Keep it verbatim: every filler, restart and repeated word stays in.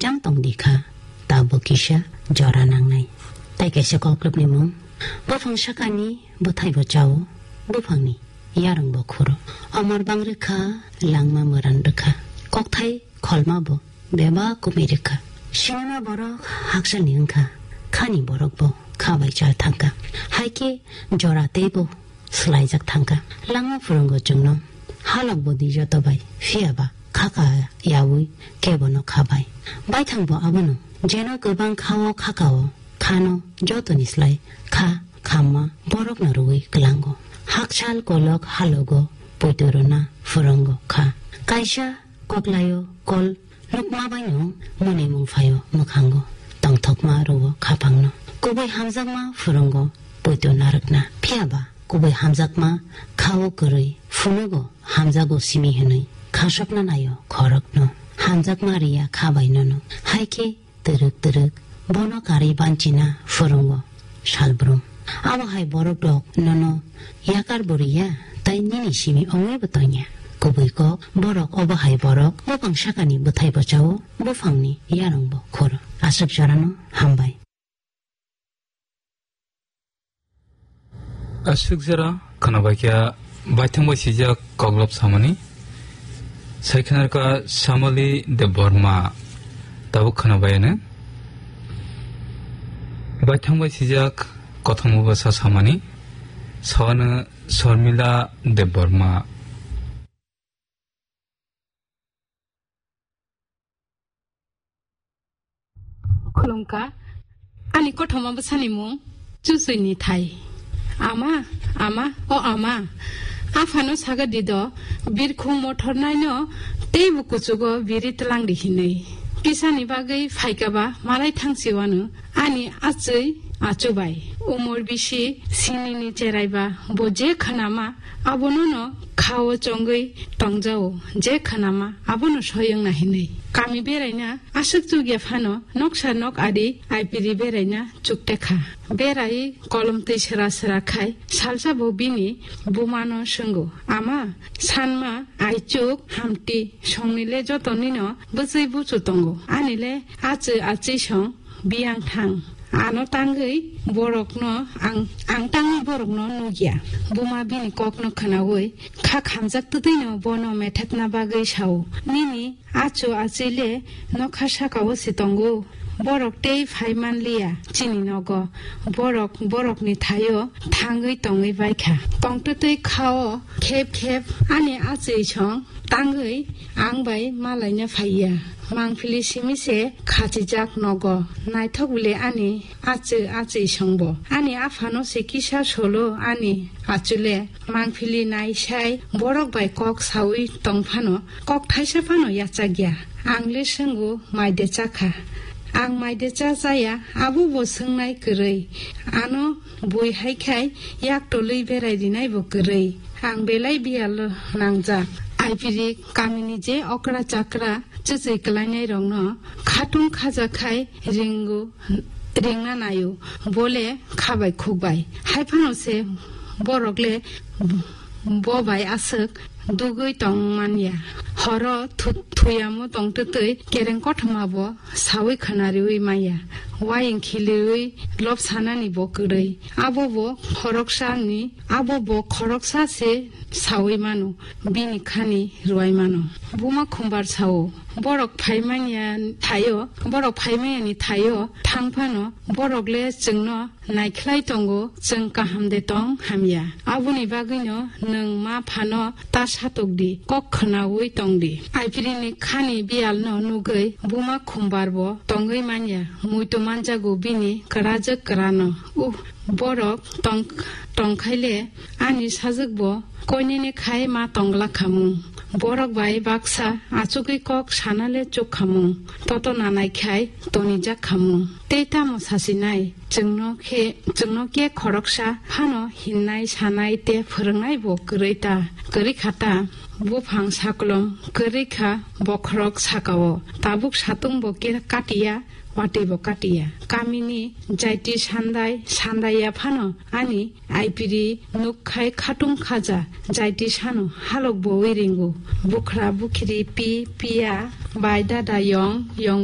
Jang tong di kha, tabuk kisa jora nangnai. Tai kaisa koklopni mung, buphang sakani bwthai bo chao, buphangni yarwng bo khuro. Omor bang rwkha, langma mwran rwkha. Kokthai kholma bo bebak kumui rwkha. Sinima borok hakchalni wngkha, khani borok bo kha bai chal thangkha. Hai khe jora teibo swlaijak thangkha. Langma phwrwngo chwngno, halok bo di joto bai, phiya ba kha ka yaui kebono kha bai. Baithang bo abono, jeno kwbang kha-o kha ka-o, khano jotoni slai kha khamma borokno rwui kwlango. Hakchal kolok halogo poito rwna phwrwngo kha. Kaisa koklaio kol nukma baino mwnwimung phaio mwkhango, tongthokma rwo khaphangno. Kubui hamjakma phwrwngo poito narwkna. Phiya ba kubui hamjakma kha-o kwrwi phunugo hamjago simi hwnwi khasokna naio khorokno. Hamjakma riya kha bai nono. Hai khe twrwk twrwk bono karwi banchina phwrwngo salbrum. Abo hai borok rok nono yakar bo riya, tai nini simi ongwi bo tongya. Kubui kok, borok obo hai borok, buphang sakani bwthai bo chao, buphangni yarwng bo khoro. Aswk jorano hambai. Aswk jora khwnabaikha baithang bai sijak koklop samani. Saikhanarkha Samali Debbarma tabuk khwnabayano. Baithang bai sijak kothoma bwsa samani. Sawano Sharmila Debbarma. Khulumkha. Ani kothoma bwsani mung Chuchuni thai. Ama, ama, o ama. Aphano saga dido, birkhung mothor naino teibo kuchugo biri tlang di hinwi. Kisani bagwi phaikaba malai thangsi wano ani achwi achubai. Umor bisi sinini cheraiba bo je khanama abono no khao chongwi tongjao, je khanama abono soyong na hinwi. Kami beraina aswk chukya phano noksa nok adi aipiri beraina chuktekha. Berai kolom twi sera sera khai salsa bo bini bumano swngo, "Ama, sanma aichuk hamti songnile jotonino bwchwi buchu tongo, anile achwi achwi song biyang thang. Ano tangwi borokno ang, ang tangwi borokno nukya." Buma bini kokno khwnawi kha khamjak twtwino bono methepna bagwi sao, "Nini achu achile nokha sakao se tongo. Borok tei phai manliya chini nogo. Borok borokni thaio thangwi tongwi baikha. Tongtwtwi khao khep khep ani achwi song tangwi ang bai malaina phaiya. Mangphili simi se khachijak nogo. Naithok bile ani achwi achwi songbo. Ani aphano se kisa solo ani achule." Mangphili naisai borok bai kok saui tong phano, kok thaisa phano yachakya. Ang le swngo, "Mai de chakha?" Ang mai de cha chaya, abo bo swngnai kwrwi. Ano bui hai khai yak tolwi berai rinai bo kwrwi. Ang belai biyalo nangjak. Aipiri kamini je okra chakra chuchwi kwlainai rokno khatung khaja khai ringo, ringna naio, bole khabai khukbai. Haiphano se borok le bo bai aswk dugwi tong manya. Horo thu-, thuyamo tongtwtwi kereng kothoma bo sawi khwnariwi manya. Wayeng khiliwi lobsanani bo kwrwi. Abo bo khoroksani, abo bo khoroksa se sawi mano, bini khani rwai mano. Buma Khumbar sao, "Borok phaimanya thaio, borok phaimayani thaio thang phano, borok le chwngno naikhlai tongo, chwng kaham de tong hamya. Aboni bagwino nwng ma phano ta satok di, kok khwnaui tong di." Aiphirini khani biyalno nugwi Buma Khumbar bo tongwi manya, muitu manjago bini kwrajwk kwrano. Uh, borok tong, tongkhaile ani sajwk bo koinene khai ma tongla khamung. Borok bai baksa achugwi kok sanale chuk khamung. Toto nanai khai tonijak khamung. Tei tamo sasinai, chwngno khe, chwngno khe khoroksa phano hinnai sanai te phwrwngnai bo kwrwi ta, kwrwi kha ta. Buphang saklom kwrwi kha bokhorok sakao. Tabuk satung bo khe katiya, watwi bo katiya. Kamini jaiti sandai, sandaiya phano ani aipiri nuk khai khatung khaja, jaiti sano halok bowi ringo. Bukhra bukhiri pi, piya, bai dada yong, yong